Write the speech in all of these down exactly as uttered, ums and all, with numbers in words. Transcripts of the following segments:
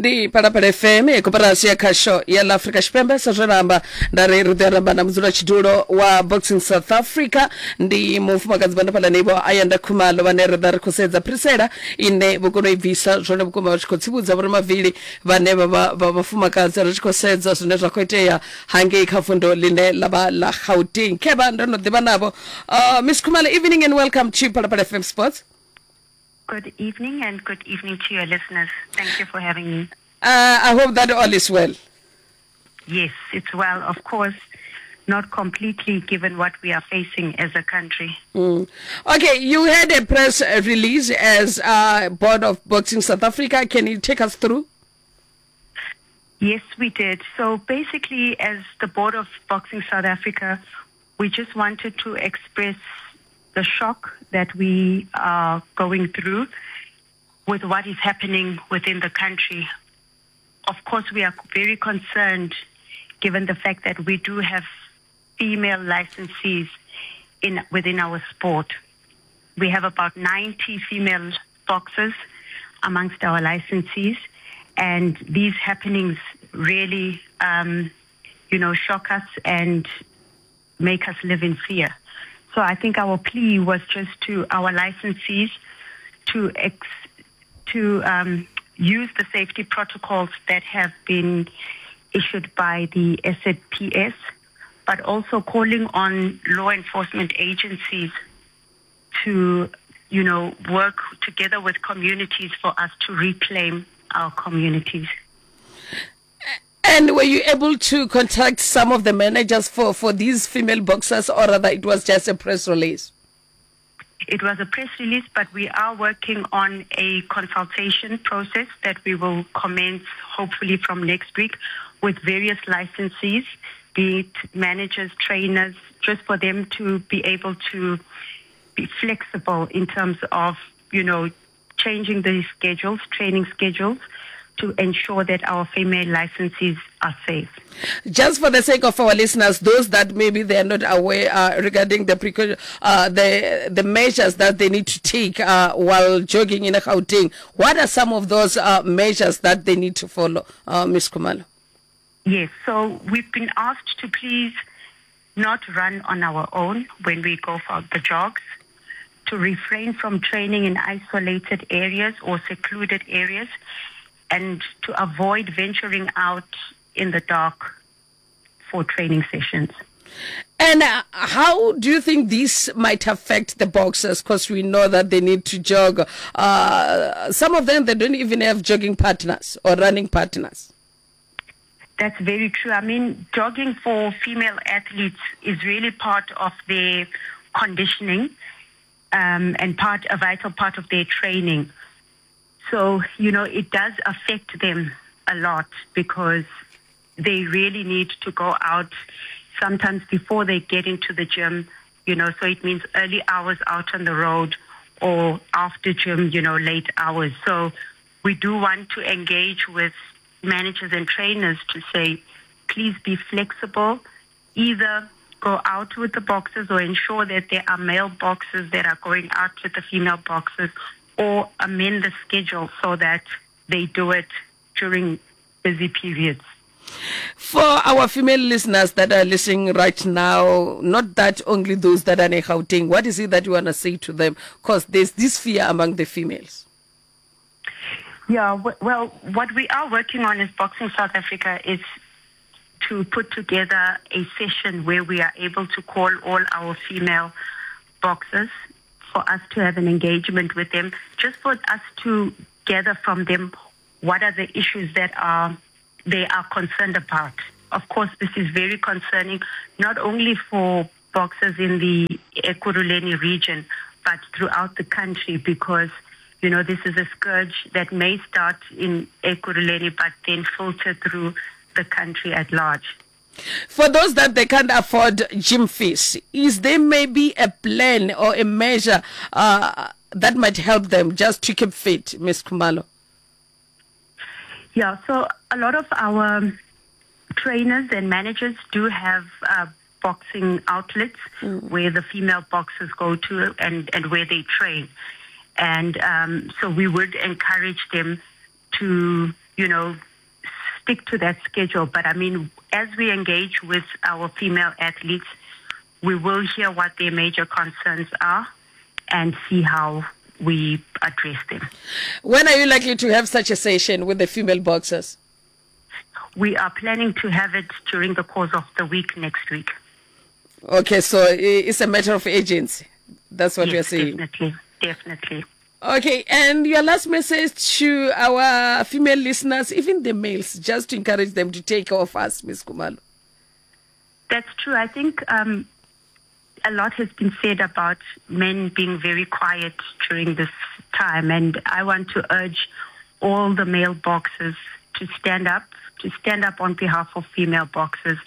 Ndi Phalaphala F M ya koporasi ya khasho ya ḽa Afrika Tshipembe. Sa zwe ramba nda ri ri ḓo ramba na mudzulatshidulo wa Boxing South Africa, ndi mufumakadzi vha ndafhaḽa vho Ayanda Khumalo, vhane ri ḓa ri khou sedza phirisela ine vho kona u i bvisa zwone vhukuma vha tshi khou tsivhudza vhoramavili vhane vha vha vha vhafumakadzi, ri tshi khou sedza zwine zwa khou itea hangei kha fundo ḽine ḽa vha ḽa Gauteng. Khevha ndo no ḓivha navho. uh, Miss Khumalo, evening and welcome to Phalaphala F M Sports. Good evening and good evening to your listeners. Thank you for having me. Uh, I hope that all is well. Yes, it's well. Of course, not completely given what we are facing as a country. Mm. Okay, you had a press release as uh, Board of Boxing South Africa. Can you take us through? Yes, we did. So basically, as the Board of Boxing South Africa, we just wanted to express the shock that we are going through with what is happening within the country. Of course, we are very concerned given the fact that we do have female licensees in within our sport. We have about ninety female boxers amongst our licensees, and these happenings really, um, you know, shock us and make us live in fear. So I think our plea was just to our licensees to ex- to um, use the safety protocols that have been issued by the S A P S, but also calling on law enforcement agencies to, you know, work together with communities for us to reclaim our communities. And were you able to contact some of the managers for, for these female boxers, or rather it was just a press release? It was a press release, but we are working on a consultation process that we will commence hopefully from next week with various licensees, be it managers, trainers, just for them to be able to be flexible in terms of, you know, changing the schedules, training schedules, to ensure that our female licensees are safe. Just for the sake of our listeners, those that maybe they are not aware uh, regarding the precaution, uh, the, the measures that they need to take uh, while jogging in Gauteng, what are some of those uh, measures that they need to follow, uh, Miz Khumalo? Yes, so we've been asked to please not run on our own when we go for the jogs, to refrain from training in isolated areas or secluded areas, and to avoid venturing out in the dark for training sessions. And uh, how do you think this might affect the boxers? Because we know that they need to jog. Uh, some of them, they don't even have jogging partners or running partners. That's very true. I mean, jogging for female athletes is really part of their conditioning, um, and part a vital part of their training. So, you know, it does affect them a lot because they really need to go out sometimes before they get into the gym, you know, so it means early hours out on the road or after gym, you know, late hours. So we do want to engage with managers and trainers to say, please be flexible, either go out with the boxers or ensure that there are male boxers that are going out with the female boxers, or amend the schedule so that they do it during busy periods. For our female listeners that are listening right now, not that only those that are in Gauteng, what is it that you want to say to them? Because there's this fear among the females. Yeah, well, what we are working on as Boxing South Africa is to put together a session where we are able to call all our female boxers for us to have an engagement with them, just for us to gather from them what are the issues that are they are concerned about. Of course, this is very concerning, not only for boxers in the Ekurhuleni region, but throughout the country, because, you know, this is a scourge that may start in Ekurhuleni, but then filter through the country at large. For those that they can't afford gym fees, is there maybe a plan or a measure uh, that might help them just to keep fit, Miz Khumalo? Yeah, so a lot of our trainers and managers do have uh, boxing outlets mm. where the female boxers go to and, and where they train. And um, so we would encourage them to, you know, stick to that schedule. But I mean, as we engage with our female athletes, we will hear what their major concerns are and see how we address them. When are you likely to have such a session with the female boxers? We are planning to have it during the course of the week next week. Okay, so it's a matter of urgency. That's what yes, you're saying. Definitely, definitely. Okay, and your last message to our female listeners, even the males, just to encourage them to take off us, Miz Khumalo. That's true. I think um, a lot has been said about men being very quiet during this time, and I want to urge all the male boxers to stand up, to stand up on behalf of female boxers,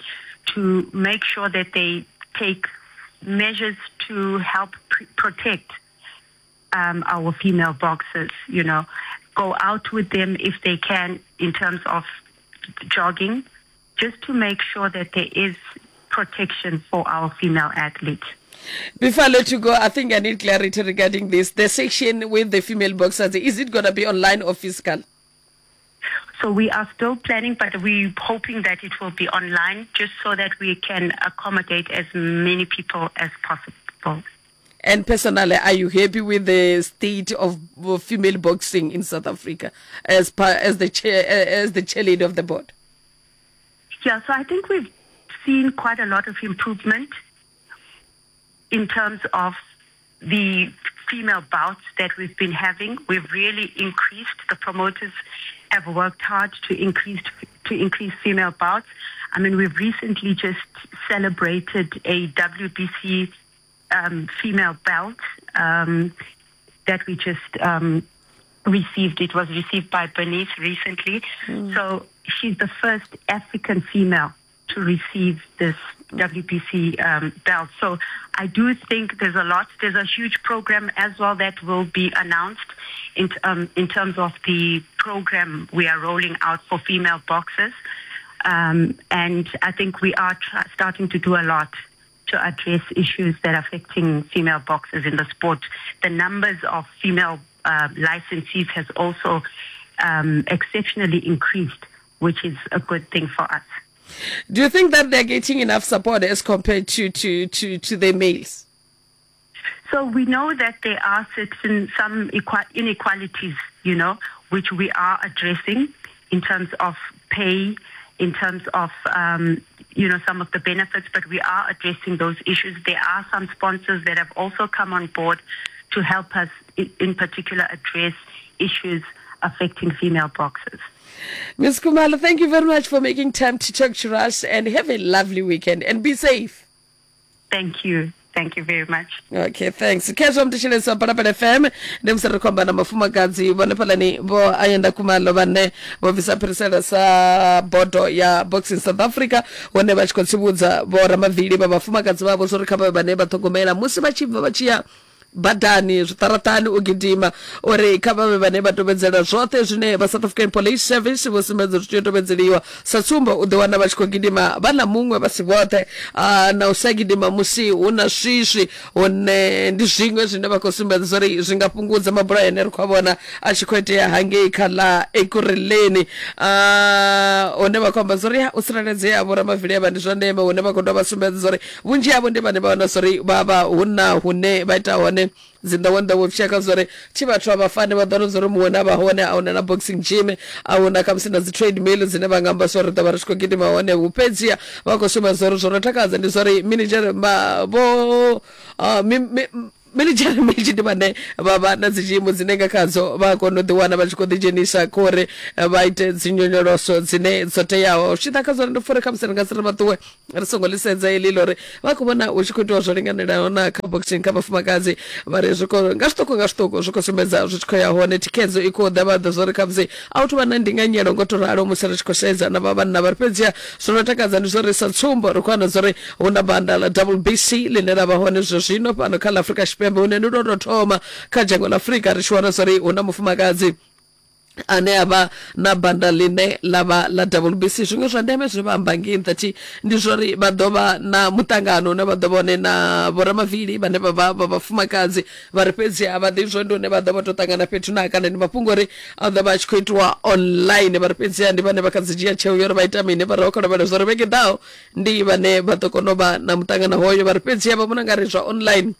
to make sure that they take measures to help pr- protect um, our female boxers, you know, go out with them if they can in terms of jogging, just to make sure that there is protection for our female athletes. Before I let you go, I think I need clarity regarding this. The section with the female boxers, is it gonna be online or physical? So we are still planning, but we're hoping that it will be online, just so that we can accommodate as many people as possible. And personally, are you happy with the state of female boxing in South Africa as par, as the chair, as the chair leader of the board? Yeah, so I think we've seen quite a lot of improvement in terms of the female bouts that we've been having. We've really increased. The promoters have worked hard to increase to increase female bouts. I mean, we've recently just celebrated a W B C, um, female belt, um, that we just, um, received. It was received by Bernice recently. Mm. So she's the first African female to receive this W B C, um, belt. So I do think there's a lot. There's a huge program as well that will be announced in, um, in terms of the program we are rolling out for female boxers. Um, and I think we are tra- starting to do a lot to address issues that are affecting female boxers in the sport. The numbers of female, uh, licensees has also, um, exceptionally increased, which is a good thing for us. Do you think that they're getting enough support as compared to, to, to, to the males? So we know that there are certain some equa-, inequalities, you know, which we are addressing in terms of pay, in terms of, um, you know, some of the benefits, but we are addressing those issues. There are some sponsors that have also come on board to help us, in, in particular, address issues affecting female boxers. Miz Khumalo, thank you very much for making time to talk to us, and have a lovely weekend and be safe. Thank you. Thank you very much. Okay, thanks. Khezwo mthetshelesi wa Phalaphala F M, ndi musi ri khou amba na mufumakadzi vhone fhalani vho Ayanda Khumalo vhane vho bvisa phirisela sa bodo ya Boxing South Africa, hone vha tshi khou tsivhudza vho ramavili vha vhafumakadzi vhavho zwo ri kha vha vhane vha ṱhogomela musi vha tshi bva vha tshi ya badani zwiṱaraṱani u gidima, uri kha vhavhe vhane vha tevhedzela zwoṱhe zwine vha South African Police Service vho sumbedza zwi tea u tevhedzeliwa. Sa tsumbo, u ḓi wana vha tshi khou gidima vha na muṅwe vha si vhoṱhe, na u sa gidima musi hu na swiswi, hune ndi zwiṅwe zwine vha khou sumbedza uri zwi nga fhungudza mabulayo ane ri khou vhona a tshi khou itea hangei kha ḽa Ekurhuleni. Hune vha khou amba uri u tsireledzea vho ramavili avha ndi zwa ndeme, hune vha khou dovha vha sumbedza uri vhunzhi havho ndi vhane vha wana uri vha vha hu na hune vha ita hone dzinḓawenḓawe vhushaka zwa uri thi vhathu a vha fani, vha ḓo uri muṅwe na vha hone a huna na boxing gym, a huna khamusi na dzi treadmill dzine vha nga amba zwa uri ḓo vha ri tshi khou gidima hone. Fhedziha vha khou sumbedza uri zwo no takadza ndi zwa uri manager vho manager minzhi ndi vhane vha vha na dzi gym dzine nga khadzo vha kona u ḓi wana vha tshi khou ḓi dzhenisa kha uri vha ite dzi nyonyoloso dzine dzo teaho. Zwi tshi ḓa kha zwone ndi pfha uri khamusi ri nga si ri vha ṱuwe ri songo ḽi sedza heḽi ḽa uri vha khou vhona hu tshi khou itiwa zwo linganelaho na kha boxing kha vhafumakadzi, vha ri zwi khou nga zwiṱuku nga zwiṱuku zwi khou sumbedza zwi tshi khou ya hone, thikhedzo i khou ḓa, vha ḓo zwa uri khamusi a hu thu vha na ndinganyelo ngo to ralo musi ri tshi khou sedza na vha vhanna vha ri. Fhedziha zwo no takadza ndi zwa uri sa tsumbo ri khou wana zwa uri hu na banda ḽa W B C ḽine ḽa vha hone zwa zwino fhano kha ḽa Afrika Tshipembe, hune ndi lwo tou thoma kha dzhango ḽa Afrika ri tshi wana zwa uri hu na mufumakadzi Ane avha na banda line la vha la W B C. Zwiṅwe zwa ndeme zwe vha amba ngei nṱha ndi zwori vha ḓo vha na muṱangano une vha ḓo vhone na vhoramavili vhane vha vha vha vhafumakadzi vha ri fhedzi a vha ḓi zwo ndi hune vha ḓo vha to ṱangana fhethu na kana ndi mafhungo uri a ḓo vha a tshi khou itiwa online. Vha ri fhedzi ndi vhane vha kha dzi dzhia tsheo yo uri vha ita mini, vha ri khou lavhelela zwa uri vhege ḓaho ndi vhane vha ḓo kona u vha na muṱangano hoyo. Vha ri fhedzi vha vhona nga ri zwa online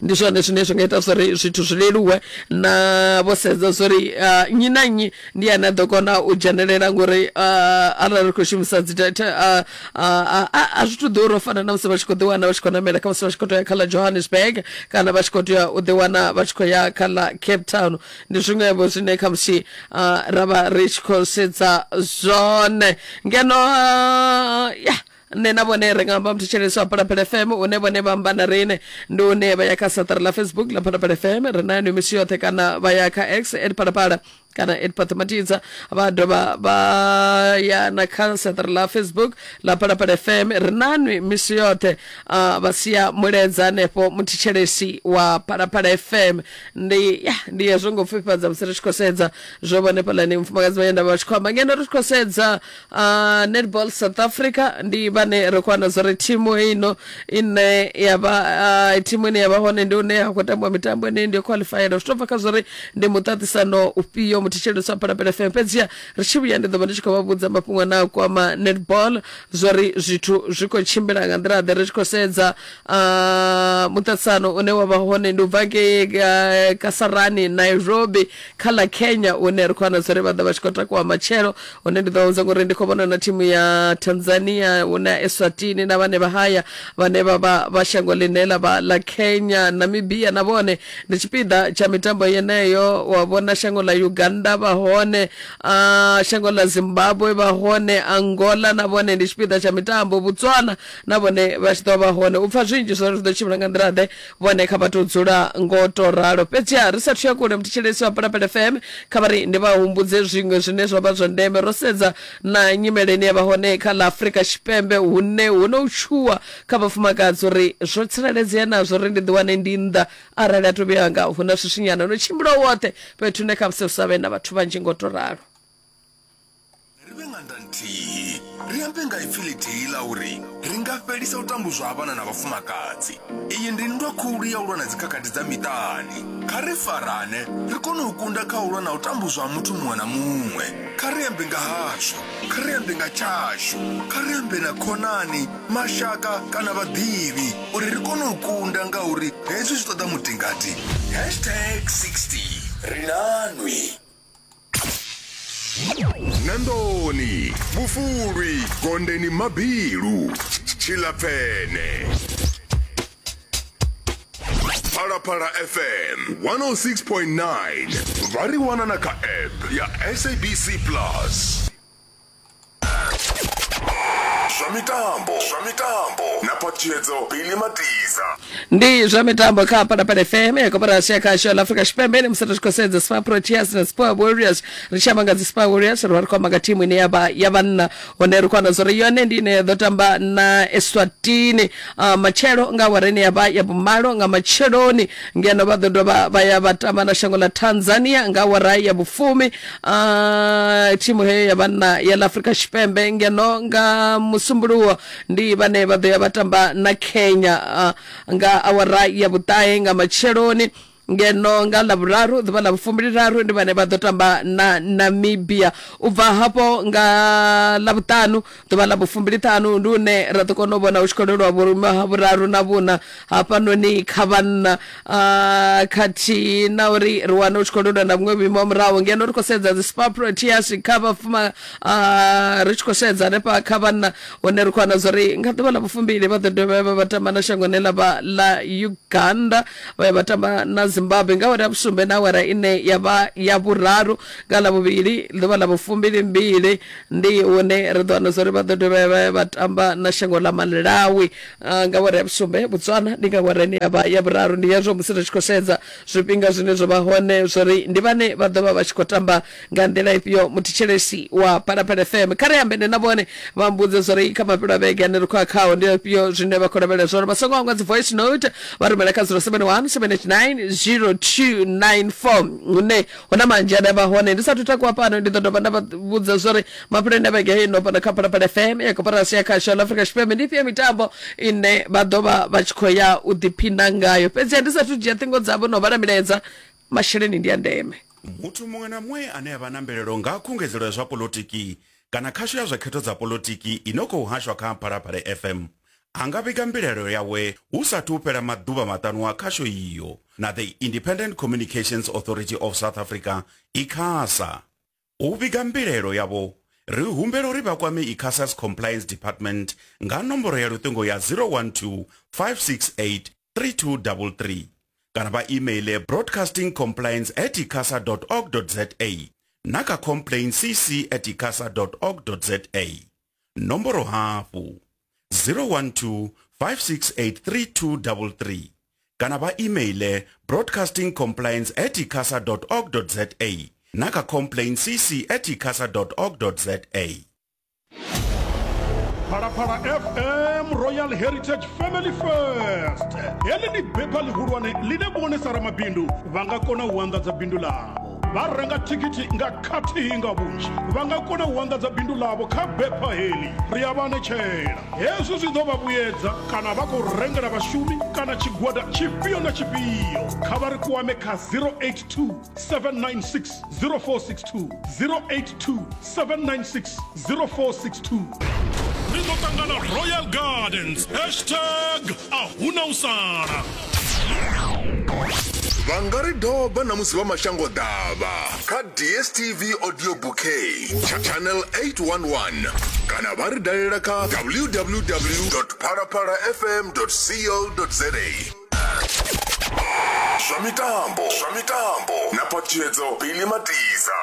ndi zwone zwine zwi nga ita zwori zwithu zwi leluwe na vho sedza zwori uh, nnyi na nnyi ndi ane a ḓo kona u dzhenelela ngori uh, arali ri khou shumisa dzi data uh, uh, a zwi tu ḓura u fana na musi vha tshi khou ḓiwana vha tshi khou namela kha musi vha tshi khou tea kha ḽa Johannesburg kana vha tshi khou tea u ḓiwana vha tshi khou ya kha ḽa Cape Town. Ndi zwiṅwevho zwine kha musi uh, ra vha ri tshi khou sedza zwone ngeno uh, ya nṋe na vhone ri nga amba muthetshelesi wa Phalaphala F M une vhone vha amba na riṋe ndi une vha ya kha saṱari ḽa Facebook ḽa Phalaphala F M ri na yone misi yoṱhe kana vha ya kha X at Phalaphala kana at Pathmatidza, vha dovha vha ya na kha saṱari ḽa Facebook ḽa Phalaphala F M ri na nwi misi yoṱhe uh, vha sia mulaedza hanefho muthetshelesi wa Phalaphala F M. Ndi ya ndi hezwo ngo pfufhifhadza musi ri tshi khou sedza zwo vhone fhaḽani mufumakadzi vha yenda vha tshi khou amba ngeno ri tshi khou sedza uh, Netball South Africa ndi vhane ri khou wana zwori thimu ino ine ya vha uh, thimu ine ya vha hone ndi une ya khou tambiwa mitambo ine ndi yo qualifyela zwi to bva kha zwori ndi muṱaṱisano ufhio muthetshelesi wa Phalaphala F M. Fhedziha ri tshi vhuya ndi ḓo vha ndi tshi khou vha vhudza mafhungo na kwama netball zwori zwithu zwi khou tshimbila nga nḓila ḓe. Ri tshi khou sedza uh, muṱaṱisano une wa vha hone ndi u bva ngei uh, Kasarani Nairobi kha ḽa Kenya une ri khou wana zwori vha ḓo vha tshi khou takuwa matshelo, hune ndi ḓo vha vhudza ngori ndi khou vhona na thimu ya Tanzania hune Eswatini na vhane vha haya vhane vha vha vha shango ḽine ḽa vha ḽa Kenya, Namibia na vhone ndi tshipiḓa tsha mitambo yeneyo. Wa vhona shango ḽa Uganda vha hone, uh, shango ḽa Zimbabwe vha hone, Angola na vhone ndi tshipiḓa tsha mitambo, Botswana na vhone vha tshi ḓo vha hone. U pfa zwinzhi zwori zwi ḓo tshimbila nga nḓila ḓe vhone kha vha tou dzula ngo to ralo. Fhedziha ri sathu ya kule muthetshelesi wa Phalaphala F M kha vha ri ndi vha humbudze zwiṅwe zwine zwa vha zwa ndeme. Ro sedza na nyimele ine ya vha hone kha ḽa Afrika Tshipembe hune hu no tshuwa kha vhafumakadzi uri zwo tsireledzea nazwo uri ndi ḓiwane ndi nnḓa arali a to vhuya nga hu na swiswinyana no tshimbila woṱhe fhethu hune kha musi hu sa vhe na vhathu vhanzhi ngo to ralo. Ri vhe ṅanda nthihi ri ambe nga ipfi ḽithihi ḽa uri ri nga fhelisa u tambudzwa ha vhana na vhafumakadzi. Iyi ndi nndwa khulu ya u lwa na dzikhakhathi dza miṱani. Kha ri farane ri kone u kunda kha u lwa na u tambudzwa ha muthu muṅwe na muṅwe. Kha ri ambe nga hashu, kha ri ambe nga tshashu, kha ri ambe na khonani, mashaka kana vhaḓivhi uri ri kone u kunda ngauri hezwi zwi ṱoḓa mutingati. Hashtag sixty ri nanwi. Nandoni, Vhufulwi, Gondeni Mabilu, Tshilapfene. Phalaphala F M one oh six point nine. Vha ri wana na kha app ya S A B C Plus. Zwa mitambo, zwa mitambo na Phatshedzo Billy Matiza. Ndi zwa mitambo kha Phalaphala F M ya koporasi ya khasho la Afrika Tshipembe. Ndi musi ri tshi khou sedza Spar Proteas na Spar Warriors. Ri tshi amba nga dzi Spar Warriors ri vha ri khou amba nga thimu ine ya vha ya vhanna, hone ri khou wana zwori yone ndi ine ya ḓo tamba na Eswatini uh, matshelo nga awara ine ya vha ya vhumalo nga matsheloni, ngeno vha ḓo dovha vha ya vha tamba na shango ḽa Tanzania nga awara ya vhufumi uh, thimu heyo ya vhanna ya ḽa Afrika Tshipembe. Ngeno nga musumbuluwo ndi vhane vha ḓo ya vha tamba na Kenya uh, nga awara ya vhuṱahe nga matsheloni. Ngeno nga ḽavhuraru ḓuvha ḽa vhufumbiliraru ndi vhane vha ḓo tamba na Namibia. U bva hafho nga ḽavhuṱanu ḓuvha ḽa vhufumbiliṱhanu ndi une ra ḓo kona u vhona hu tshi khou lwelwa vhurumiwa ha vhuraru na vhuna hafhanoni kha vhanna uh, khathihi na uri ri wane hu tshi khou lwelwa na vhuṅwe vhuimo ha murahu. Ngeno ri khou sedza dzi Spar Proteas kha vhafuma uh, ri tshi khou sedza hanefha kha vhanna hune ri khou wana zwori nga ḓuvha ḽa vhufumbili vha ḓo dovha vha vha tamba na shango ḽine ḽa vha ḽa Uganda, vha ya vha tamba na Zimbabwe nga awara ya vhusumbe na awara ine ya vha ya vhuraru. Nga ḽa vhuvhili ḓuvha ḽa vhufumbilimbili ndi hune ri ḓo wana zwori vha ḓo dovha vha vha tamba na shango ḽa Malawi uh, nga awara ya vhusumbe. Botswana ndi nga awara ine ya vha ya vhuraru. Ndi hezwo musi ri tshi khou sedza zwifhinga zwine zwa vha hone zwori ndi vhane vha ḓo vha vha tshi khou tamba nga nḓila ifhio. Muthetshelesi wa Phalaphala F M kha ri ambe na vhone vha mbudze zwori kha mafhelo a vhege ane ri khou ya khao ndi afhio zwine vha khou lavhelela zwone. Vha songo hangwa dzi voice note vha rumela kha zero seven one seven eight nine zero two nine four hune huna manzhi ane avha hone. Ndi sathu takuwa fhano ndi ḓo dovha nda vha vhudza zwori mafheloni a vhege heino fhano kha Phalaphala F M ya koporasi ya khasho la Afrika Tshipembe ndi ifhio mitambo ine vha ḓo vha vha tshi khou ya u ḓiphina ngayo. Fhedziha ndi sathu dzhia ṱhingo dzavho no vhala milaedza, masheleni ndi a ndeme. Muthu muṅwe na muṅwe ane a vha na mbilaelo nga khungedzelo ya zwa polotiki kana khasho ya zwa khetho dza polotiki ino khou hashwa kha Phalaphala F M a nga vhiga mbilaelo yawe hu sathu fhela maḓuvha maṱanu a khasho iyo na the Independent Communications Authority of South Africa ICASA. U vhiga mbilaelo yavho ri humbela uri vha kwame ICASA's Compliance Department nga nomboro ya luṱingo ya zero one two five six eight three two three three kana vha emaile broadcasting compliance at icasa dot org dot za na kha complaint c c at icasa dot org dot za. Nomboro hafhu zero one two five six eight three two three three kana vha emaile broadcasting compliance at icasa dot org dot za na kha complaint c c at icasa dot org dot za. Phalaphala F M Royal Heritage Family First. Heḽi ndi bepha ḽihulwane ḽine vhone sa ramabindu vha nga kona u anḓadza bindu ḽavho. Vha renga thikhithi nga khathihi nga vhunzhi, vha nga kona u anḓadza bindu ḽavho kha bepha heḽi. Ri a vha anetshela hezwi zwi ḓo vha vhuyedza kana vha khou rengela vhashumi kana tshigwada tshifhio na tshifhio. Kha vha ri kwame kha zero eight two seven nine six zero four six two, zero eight two seven nine six zero four six two. Ri ḓo ṱangana Royal Gardens, hashtag a huna u sala. Vha nga ri doba na musi vha mashango ḓavha kha D S T V Audio Bouquet channel eight one one kana vha ri dalela kha w w w dot phalaphala f m dot co dot za. Zwa mitambo, zwa mitambo na phatshedzo Billy Matiza.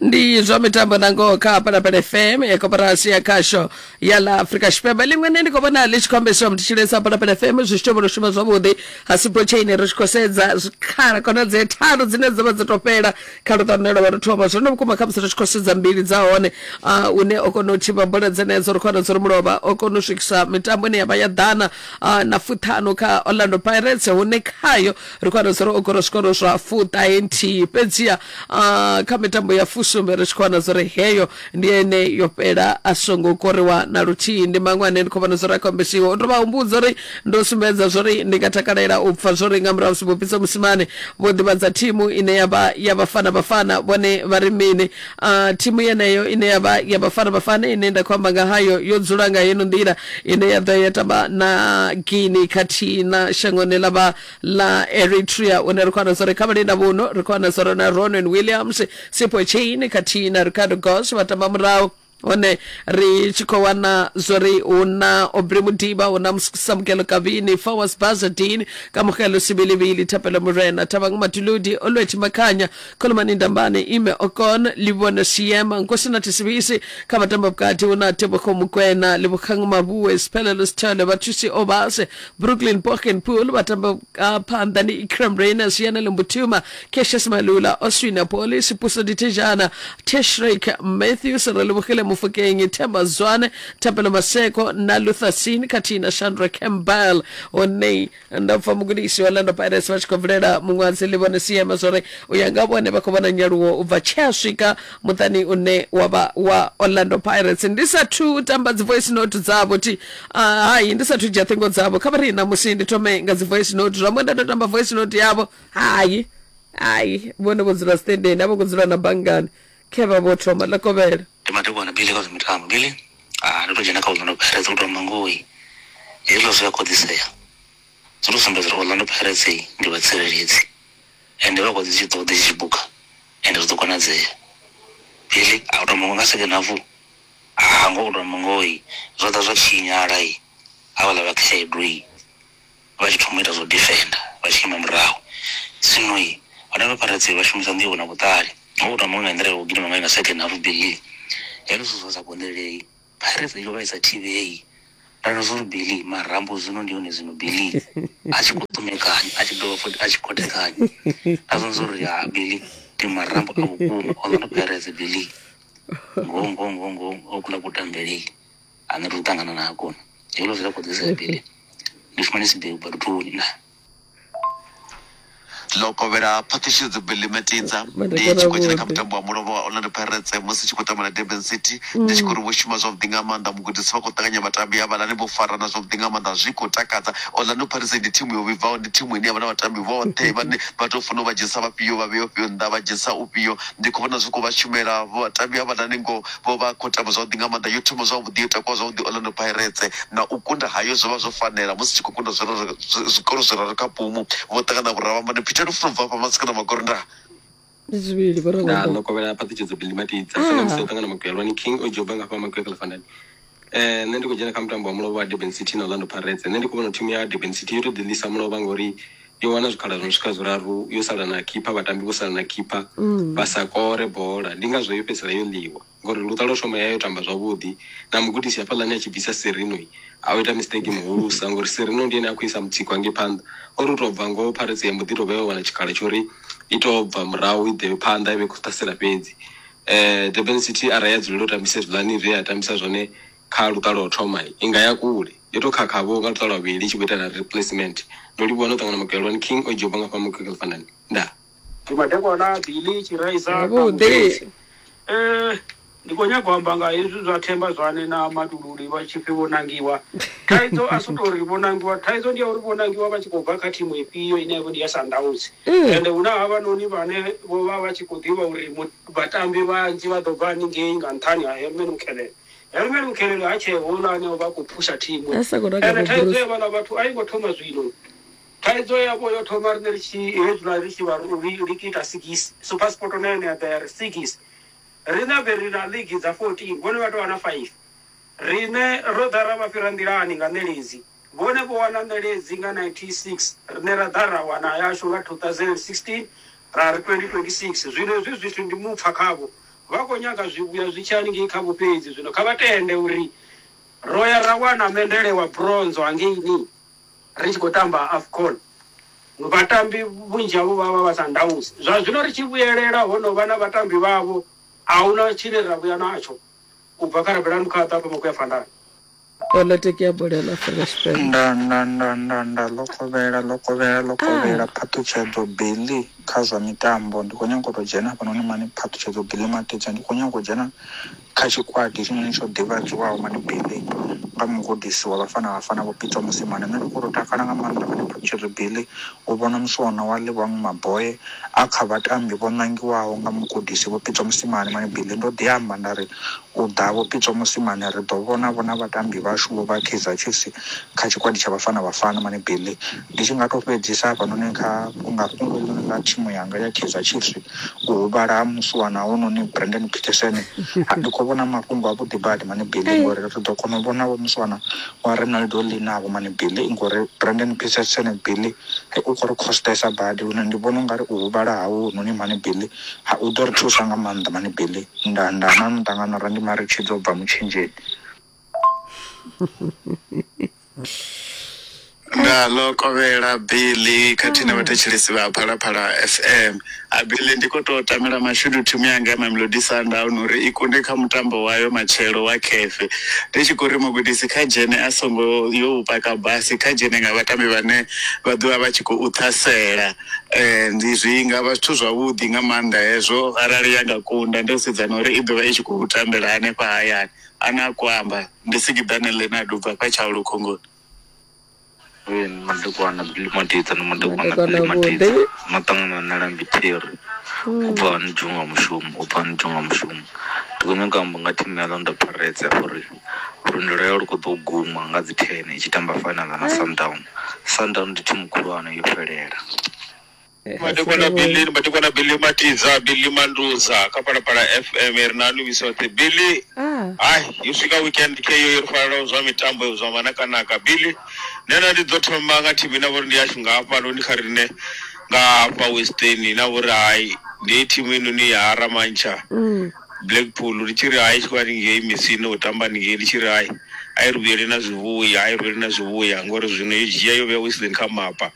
Ndi zwa mitambo na ngoho kha Phalaphala F M ya koporasi ya khasho ya ḽa Afrika Tshipembe. Ḽiṅwe nṋe ndi khou vhona ḽi tshi khou ambesiwa mutshilesa Phalaphala F M zwi tshi tovha shuma zwavhuḓi ha Sipho Chaine. Ri tshi khou sedza zwikhala khonadzeo tharu dzine dza vha dzo tou fhela kha luṱa lune lwa vha lu thoma. Zwino vhukuma kha musi ri tshi khou sedza mbili dza hone, uh, une o kona u thivha bola dzenedzo, ri khou wana uri mulovha o kona u swikisa mitambo ine ya vha ya ḓana uh, na fuṱhanu kha Orlando Pirates, hune khayo ri khou wana uri o kona zwikoro zwa fuṱahe nthihi. Fhedziha uh, kha mitambo ya fusumbe ri tshi khou wana uri heyo ndi ene yo fhela a songo koriwa na luthihi. Ndi maṅwe ane ndi khou vhona uri a khou ambesiwa. U tou vha humbudza uri ndo sumbedza zwori ndi nga takalela u pfa zwori nga murahu musi Vho Pitso Mosimane vho ḓivhadza thimu ine ya vha ya Bafana Bafana, vhone vha ri mini. Uh, thimu yeneyo ine ya vha ya Bafana Bafana ine nda khou amba nga hayo yo dzula nga heno nḓila ine ya ḓo ya tamba na Guinea khathihi na shangoni ḽa vha ḽa Eritrea, une ri khou wana uri kha vhalinda vhuno ri khou wana uri na Ronan Williams, Sipho Chaine khathihi na Ricardo Goss vha tamba murahu. Hone ri tshi khou wana zwori hu na Aubrey Modiba, hu na Samukelo Kabini, Fawaz Bazadin, Kamogelo Sibilibili, Thapelo Morena, Thabang Matuludi, Olwethu Makhanya, Khulumani Ndambane, Ime Okon, Livhone Siema, Nkosinathi Sibisi. Kha vhatamba vhukati hu na Tebogo Mokoena, Lebogang Maboe, Siphelelo Sithole, Bathusi Obase, Brooklyn Pochenpoel. Vhatamba phanḓa ndi Ikram Rayners, Yanele Mbuthuma, Cassius Malula, Oswin Appollis, Puso Ditejana, Tashreeq Matthews, Relebogile Mofokeng, Themba Zwane, Thapelo Maseko na Luther Singh khathihi na Chandra Campbell. Hone nda pfa mugudisi wa Orlando Pirates vha tshi khou bvelela muṅwadzi Livhone Siema zwori u ya nga vhone vha khou vhona nyaluwo u bva tshe a swika muṱani une wa vha wa Orlando Pirates. Ndi sathu tamba dzi voice note dzavho thi uh, hai ndi sathu dzhia ṱhingo dzavho. Kha vha ri ṋamusi ndi thome nga dzi voice note, zwa nda tou tamba voice note yavho. Hai hai vhone vho dzula standeni, a vho ngo dzula na banngani, khe vha vho thoma ḽa kovhela. Ndi madekwana Billy kha zwa mitambo. Billy ah ndo to dzhena kha Orlando Pirates u tou amba ngoho hezwiḽa zwi a konḓisea. Zwi to sumbedza uri Orlando Pirates ndi vhatsireledzi ende vha khou ḓi tshi ṱoḓa tshi buka ende zwi ḓo konadzea. Billy a u tou amba nga second half ah ngo u tou amba ngoho zwo ḓa zwa tshinyala havhaḽa vha khaedu vha tshi thoma u ita zwo defender vha tshi ima murahu. Zwino Orlando Pirates vha shumisa nḓivho na vhuṱali. Ngo u tou amba nga nḓila ya u gidima ngayo nga second half Billy hezwo zwithu zwa sa konḓelei. Pirates yo vha i sa thivhei. Nda zwo uri Billy marambo zwino ndi hone zwino Billy a tshi khou ṱumekanya a tshi dovha futhi a tshi khothekanya. Nda zwo uri ha Billy ndi marambo a vhukuma. Orlando Pirates Billy ngo ngo ngo ngo o kula kutambelei ane ri ṱangana nako hezwo zwi a konḓisea Billy. Ndi shumanisi Billy baluthuni na Ḽo kovhela Phaṱhutshedzo Billy Matidza ndi tshi khou dzhena kha mutambo wa mulovha wa Orlando Pirates musi tshi khou tamba na Durban City. Ndi tshi khou ri vho shuma zwavhuḓi nga maanḓa, mugudisi vha khou ṱanganya vhatambi havhaḽani, vho farana zwavhuḓi nga maanḓa, zwi khou takadza. Orlando Pirates ndi thimu yo vhibvaho, ndi thimu ine ya vha na vhatambi vhoṱhe vhane vha tou funa u vha dzhenisa vhafhio vha vhea ufhio nnḓa vha dzhenisa ufhio. Ndi khou vhona zwi khou vha shumela vhatambi havhaḽani, ngo vho vha khou tamba zwavhuḓi nga maanḓa. Yo thoma zwavhuḓi, yo takuwa zwavhuḓi Orlando Pirates, na u kunda hayo zwo vha zwo fanela musi tshi khou kunda zwikoro zwiraru kha pumu. Vho ṱangana vhuravhamba. Peter Lufuno bva fha Masikana Makorinda. Ndi zwivhili vho nda Ravhamba. Ḽo kovhela Phaṱhutshedzo Billy Matidza sa musi o ṱangana Makwelwani King o dzhoba nga fha Makwekela Fandani. Eh nṋe ndi khou dzhena kha mutambo wa mulovha wa Durban City na Orlando Pirates. Nṋe ndi khou vhona thimu ya Durban City yo to ḓiḽisa mulovha ngori yo wana zwikhala zwo no swika zwiraru, yo sala na keeper, vhatambi vho sala na keeper vha sa kore bola, ndi ngazwo yo fhedzisela yo ḽiwa ngori luṱa lwo thoma ya yo tamba zwavhuḓi. Na mugudisi hafhaḽani a tshi bvisa Serino a o ita mistake muhulusa ngori Serino ndi ene a khou isa mutsiko hangei phanḓa, ori u tou bva ngoho Pirates ya mbo ḓi tou vha yo wana tshikhala tsho uri i tou bva murahu i ḓe phanḓa i vhe khou ṱhasela fhedzi. eh Durban City arali ya dzulela u tambisa hezwiḽani zwe ya tambisa zwone kha luṱa lwa u thoma i nga ya kule, yo tou khakha-vho nga luṱa lwa vhuvhili i tshi khou ita na replacement. Ndo livhuwa no ṱangana Makwelwani King o dzhoba nga fha Makwekela Fandani. Ndaa. Ndi madekwana Billy Tshiraisa na Zwavhuḓi. Mugezi. Eh ndi khou nyaga u amba nga hezwi zwa Themba Zwane na Matululi vha tshi pfi vho nangiwa. Thaidzo a si tou ri vho nangiwa, thaidzo ndi ya uri vho nangiwa vha tshi khou bva kha thimu ifhio ine ya vha ndi ya Sundowns. Ende hu na havhanoni vhane vho vha vha tshi khou ḓivha uri vhatambi vhanzhi vha ḓo bva haningei nga nṱhani ha Herman Mkhalele. Herman Mkhalele ha tshee houḽa ane o vha khou phusha thimu. A sa khou nanga Ende vho thaidzo Bruce. ya vhaḽa vhathu a i ngo thoma zwino. Thaidzo yavho yo thoma riṋe ri tshi hezwiḽa ri tshi vha ri ita sigisi SuperSport na yone ya ḓa ya ri sigisi. Riṋe be ri na league dza fourteen, vhone vha tou wana five. Riṋe ro ḓa ra vha fhira nḓilani nga ṋeledzi, vhone vho wana ṋeledzi nga ninety six, riṋe ra ḓa ra wana yashu nga two thousand and sixteen, ra ri twenty twenty six. Zwino hezwi zwithu ndi mupfha khavho, vha khou nyaga zwivhuya zwi tshi haningei khavho fhedzi. Zwino kha vha tende uri ro ya ra wana mendele wa bronze hangeini ri tshi khou tamba AFCON, vhatambi vhunzhi havho vha vha vha Sundowns. Zwa zwino ri tshi vhuyelela ho no vha na vhatambi vhavho, a huna tshine ra vhuya natsho u bva kha Rabelani Mukhaṱa hafha Makuya Fandani. Politiki ya bola ya Afrika Tshipembe. Nda nda nda nda nda ḽo kovhela ḽo kovhela ḽo kovhela Phaṱhutshedzo Billy kha zwa mitambo. Ndi khou nyanga u tou dzhena hafhanoni mani Phaṱhutshedzo Billy Matidza, ndi khou nyanga u dzhena kha tshikwadi hetshinoni tsho ḓivhadziwaho mani Billy nga mugudisi wa Bafana Bafana Vho Pitso Mosimane. Nṋe ndi khou tou takala nga maanḓa mani Phaṱhutshedzo Billy u vhona muswana wa Lebohang Maboe a kha vhatambi vho ṋangiwaho nga mugudisi Vho Pitso Mosimane mani Billy. Ndo ḓi amba nda ri u ḓa Vho Pitso Mosimane ri ḓo vhona vhona vhatambi vhashu vho vha Kaizer Chiefs kha tshikwadi tsha Bafana Bafana mani Billy. Ndi tshi nga to fhedzisa hafhanoni kha nga fhungo heḽinoni ḽa thimu yanga ya Kaizer Chiefs, u huvhala ha muswana hounoni Brandon Petersen, ndi khou vhona mafhungo a vhuḓi badi mani Billy ngori ri ḓo kona u vhona vho muswana wa Ronaldo Lee navho mani Billy ngori Brandon Petersen Billy u khou ri costesa badi, lune ndi vhona ungari u huvhala hawe hounoni mani Billy u ḓo ri thusa nga maanḓa mani Billy. Nda nda na muṱangano ra ndi Maritshidzo bva Mutshenzheni. Nda ḽo kovhela Billy khathihi na vhathetshelesi vha Phalaphala F M. A Billy ndi khou tou tamela mashudu thimu yanga ya Mamelodi Sundowns uri i kunde kha mutambo wayo matshelo wa khefe. Ndi tshi khou ri mugudisi kha dzhene a songo yo u paka basi, kha dzhene nga vhatambi vhane vha ḓovha vha tshi khou ṱhasela. Ndi zwi nga vha zwithu zwavhuḓi nga maanḓa hezwo arali ya nga kunda, ndo sedza na uri i ḓovha i tshi khou tambela hanefha hayani. Ane a khou amba ndi Sikiḓane Leonard ubva fha Tshaulu Khongoni. Madekwana Billy Matidza na madekwana Madekwana Billy Matidza vhuḓi. no ṱangana na Lambi Terry u bva hani dzhunga mushumo u bva hani dzhunga mushumo. Ndi khou nyanga u amba nga thimu ya Orlando Pirates ya uri lwendo lwayo lu khou ḓo guma nga dzi ten i tshi tamba final na Sundown. Sundown ndi thimu khulwane yo fhelela. Madekwana Billy, madekwana Billy Matidza, Billy Manduza kha Phalaphala F M ri na luvhisoṱhe Billy. Hai, yo swika weekend ke yo ri farela zwa mitambo zwa manakanaka Billy. Nṋe ndi ḓo thoma nga thimu ine vhori ndi yashu nga hafhanoni kha riṋe nga hafha Western na vhori hai ndi thimu inoni ya Haramantsha Blackpool, ndi tshi ri hai tshi khou haningei misini u tamba haningei, ndi tshi ri hai a i ri vhuyele na zwivhuya, a i ri vhuyele na zwivhuya ngori zwino yo dzhia yo vhea Western kha mapa.